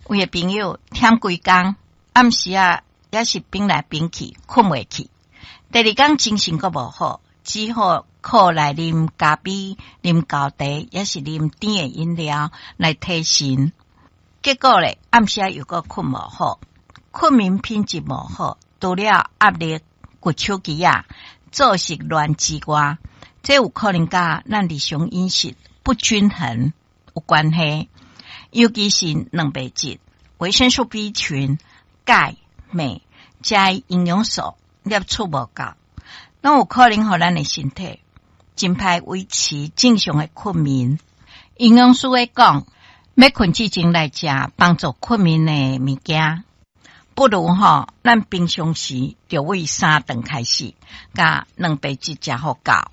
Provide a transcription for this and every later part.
有的朋友忝規工，暗時仔也是反來反去，睏袂去。第二工精神閣無好，只好靠來啉咖啡、啉厚茶，抑是啉甜的飲料來提神。結果咧，暗時仔又閣睏無好，睏眠品質無好，除了壓力、滑手機仔、作息亂之外，這有可能佮咱日常飲食不均衡有關係，尤其是蛋白質、維生素 B 群、鈣、鎂這營養素攝取無夠，攏有可能予咱的身體真歹維持正常的睏眠。營養師會講，欲睏之前來食幫助睏眠的物件，不如吼，咱平常時就為三頓開始，共蛋白質食予夠，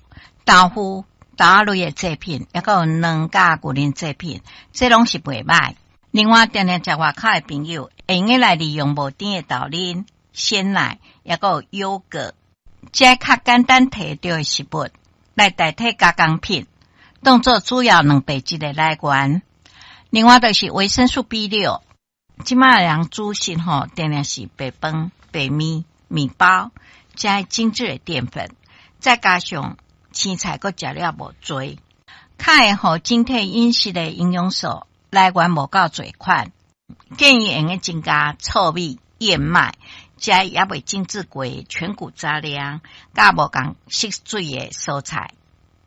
豆腐、豆仔類的製品，抑閣有卵佮牛奶製品，這攏是袂䆀。另外，定定食外口的朋友，會用得來利用無甜的豆奶、鮮奶，抑閣有優格，這較簡單提著的食物來代替加工品，當做主要蛋白質的來源。另外，就是維生素 B6，這馬人主食吼，定定是白飯、白麵、麵包，這精緻的澱粉，再加上青菜閣食了無濟，較會予整體飲食的營養素來源無夠濟款，建議會用增加糙米、燕麥，這猶未精製過全穀雜糧，佮無仝色水的蔬菜。